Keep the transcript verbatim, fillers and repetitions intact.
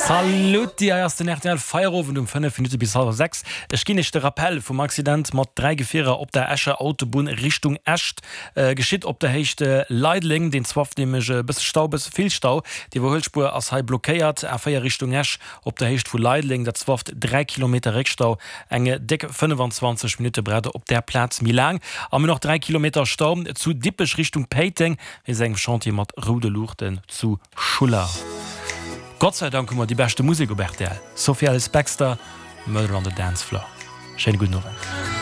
Salut, hei ass den R T L Feierowend um fënnef Minutte bis hallwer sechs. Ech ginn iech de Rappel vum Accident mat dräi Gefierer op der Escher Autobunn Richtung Esch. Geschitt op der Héicht Leideleng. Deen zwafft nämlech e bësse Stau, bësse vill Stau. D'Iwwerhuelspuer ass hei blockéiert. A véier Richtung Esch op der Héicht vu Leideleng, dat zwafft dräi Kilometer Réckstau. Eng déck fënnefenzwanzeg Minutte braucht der op där Plaz méi laang. A mir hunn och dräi Kilometer Stau zu Dippech Richtung Péiteng wéinst engem Chantier mat roude Luuchten zu Schuller. Gott sei Dank hu mer déi beschte Musek op R T L. Sophie Ellis Bextor, Murder on the Dance Floor. Schéine gudden Owend.